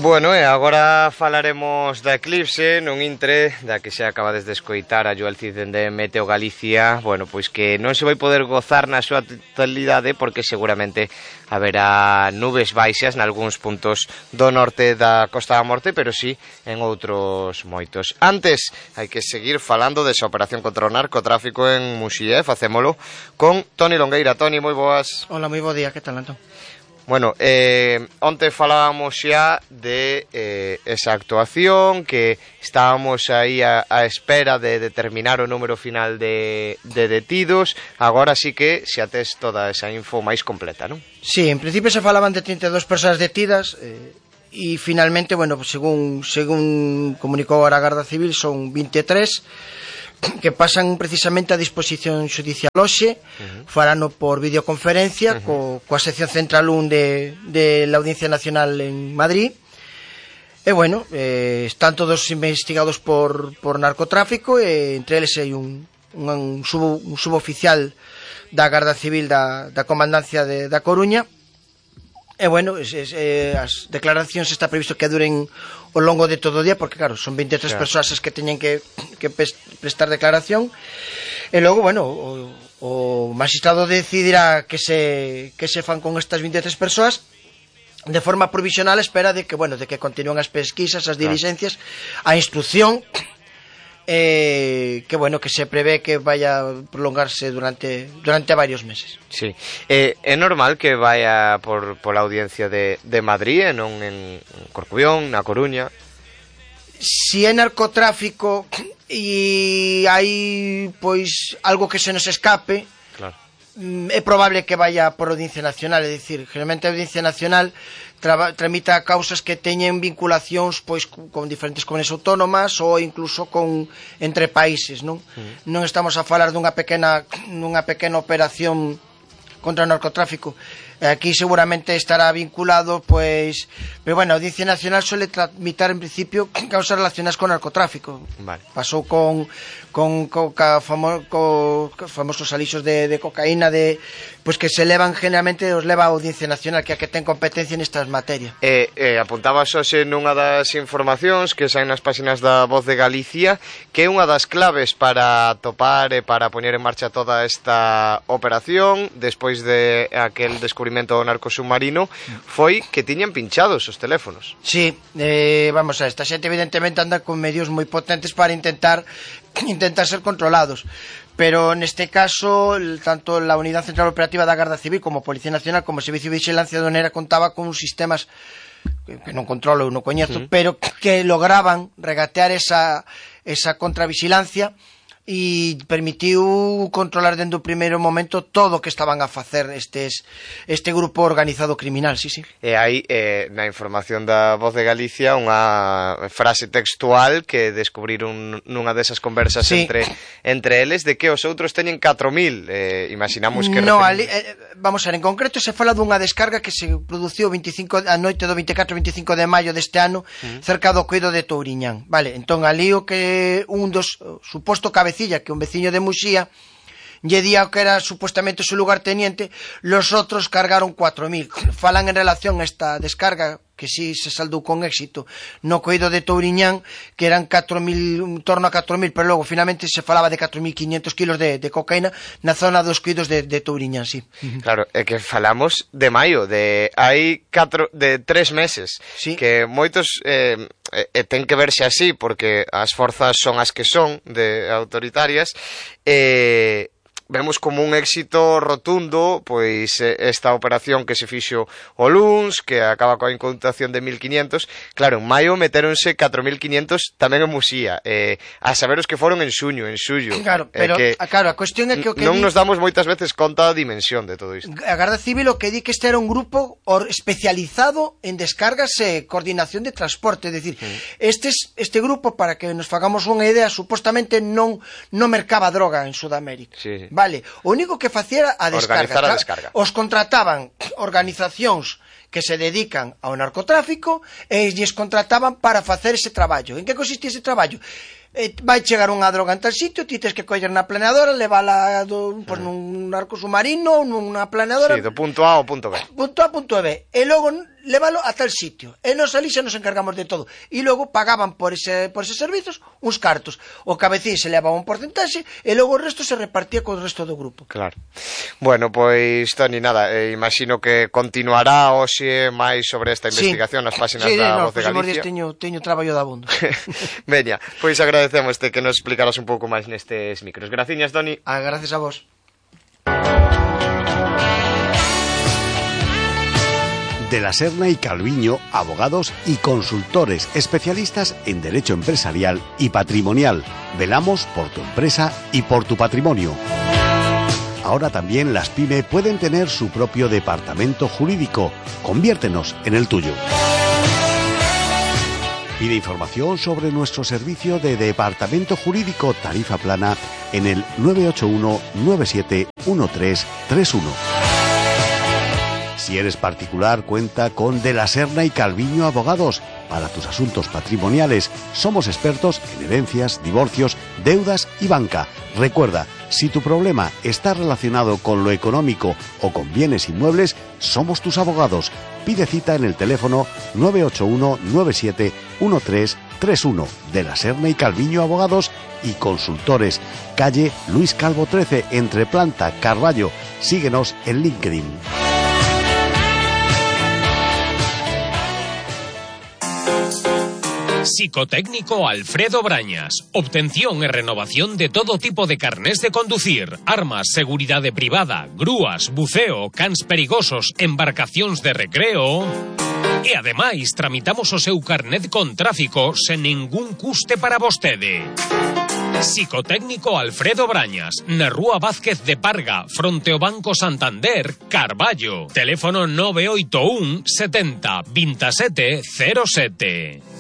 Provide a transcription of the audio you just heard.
Bueno, e agora falaremos da eclipse nun intre da que xa acabades de escoitar a Joel Cid de Meteo Galicia. Bueno, pois que non se vai poder gozar na súa totalidade porque seguramente haberá nubes baixas nalgúns puntos do norte da Costa da Morte, pero sí en outros moitos. Antes, hai que seguir falando desa operación contra o narcotráfico en Muxía, facémolo con Toni Longueira. Toni, moi boas. Hola, moi bo día, que tal, Antón? Bueno, onte falábamos xa de esa actuación, que estábamos aí a espera de determinar o número final de detidos. Agora sí que xa tes toda esa info máis completa, non? Sí, en principio se falaban de 32 persoas detidas e finalmente, bueno, según comunicou a Garda Civil, son 23 que pasan precisamente a disposición xudicial hoxe. Farano por videoconferencia coa sección central 1 de la Audiencia Nacional en Madrid. E bueno, están todos investigados por narcotráfico, e entre eles hai un suboficial da Garda Civil da Comandancia da Coruña. E bueno, as declaracións está previsto que duren ao longo de todo o día, porque claro, son 23 persoas as que teñen que prestar declaración. E logo, bueno, o magistrado decidirá que se fan con estas 23 persoas de forma provisional, espera de que, bueno, de que continúen as pesquisas, as diligencias, a instrucción, que bueno, que se prevé que vaya a prolongarse durante varios meses. Sí. É normal que vaya por la audiencia de Madrid e non en Corcubión, na Coruña? Si é narcotráfico e hai pois algo que se nos escape, claro, é probable que vaya por Audiencia Nacional. É dicir, generalmente a Audiencia Nacional tramita causas que teñen vinculacións pois con diferentes comunidades autónomas ou incluso entre países, non? Non estamos a falar dunha pequena operación contra o narcotráfico. Aquí seguramente estará vinculado, pois, pero bueno, a Audiencia Nacional suele tramitar en principio causas relacionadas con narcotráfico. Vale. Pasou con famosos alixos de cocaína, pois que se levan generalmente, os leva a Audiencia Nacional, que é a que ten competencia nestas materias. Apuntabas hoxe nunha das informacións que saen nas páxinas da Voz de Galicia, que é unha das claves para topar e para poñer en marcha toda esta operación despois de aquel descubrimento do narcosubmarino, foi que tiñan pinchados os teléfonos. Sí, vamos a esta xente evidentemente anda con medios moi potentes para intentar ser controlados, pero neste caso tanto la Unidad Central Operativa da Garda Civil como Policía Nacional como Servicio de Vigilancia Aduanera contaba con uns sistemas que non controlo, non coñezo, pero que lograban regatear esa contravigilancia e permitiu controlar dende o primeiro momento todo o que estaban a facer este grupo organizado criminal, sí. E hai na información da Voz de Galicia unha frase textual que descubriron nunha desas conversas entre eles, de que os outros teñen 4.000, imaginamos que... No, vamos a ver, en concreto se fala dunha descarga que se produciu a noite do 24-25 de maio deste ano cerca do Coido de Touriñán, vale, entón ali o que un dos suposto cabecillas, que un veciño de Muxía lle día que era supuestamente su lugarteniente, los otros cargaron 4.000. Falan en relación a esta descarga que sí se saldou con éxito no Coido de Touriñán, que eran 4.000, en torno a 4.000, pero logo finalmente se falaba de 4.500 kilos de cocaína na zona dos Coidos de Touriñán, sí. Claro, é que falamos de maio, de hai 3 meses, sí, que moitos ten que verse así, porque as forzas son as que son, de autoritarias, vemos como un éxito rotundo pois esta operación que se fixo o luns, que acaba coa incautación de 1.500. Claro, en maio metéronse 4.500 tamén en Muxía, a saber os que foron en xuño, en xullo. Claro, pero claro, a cuestión é que non nos damos moitas veces conta da dimensión de todo isto. A Garda Civil o que di que este era un grupo especializado en descargas e coordinación de transporte, é dicir, este grupo, para que nos fagamos unha idea, supostamente non mercaba droga en Sudamérica. Sí. Vale, o único que facía era a descarga. Os contrataban organizacións que se dedican ao narcotráfico e lles contrataban para facer ese traballo. En que consistía ese traballo? vai chegar unha droga en tal sitio, ti tens que coller na planeadora, levala nun arco submarino, nunha planeadora. Sí, do punto A ao punto B. Punto A, punto B. E logo lévalo a tal sitio. E nos ali xa nos encargamos de todo. E logo pagaban por eses servizos uns cartos. O cabecín se levaba un porcentaxe e logo o resto se repartía co resto do grupo. Claro. Bueno, pois, Toni, nada, imagino que continuará hoxe máis sobre esta investigación nas páxinas da Voz de Galicia. Sí, teño traballo de abondo. Veña, pois agradecemos que nos explicaras un pouco máis nestes micros. Graciñas, Toni. Gracias a vos. De la Serna y Calviño, abogados y consultores especialistas en derecho empresarial y patrimonial. Velamos por tu empresa y por tu patrimonio. Ahora también las PYME pueden tener su propio departamento jurídico. Conviértenos en el tuyo. Pide información sobre nuestro servicio de departamento jurídico tarifa plana en el 981 97 1331. Si eres particular, cuenta con De la Serna y Calviño Abogados. Para tus asuntos patrimoniales, somos expertos en herencias, divorcios, deudas y banca. Recuerda, si tu problema está relacionado con lo económico o con bienes inmuebles, somos tus abogados. Pide cita en el teléfono 981 97 1331. De la Serna y Calviño Abogados y Consultores. Calle Luis Calvo 13, entre Planta, Carballo. Síguenos en LinkedIn. Psicotécnico Alfredo Brañas. Obtención e renovación de todo tipo de carnés de conducir, armas, seguridade privada, grúas, buceo, cans perigosos, embarcacións de recreo. E ademais tramitamos o seu carnet con tráfico sen ningún custe para vostede. Psicotécnico Alfredo Brañas, na Rúa Vázquez de Parga, fronte ao Banco Santander, Carballo. Teléfono 981 70 27 07.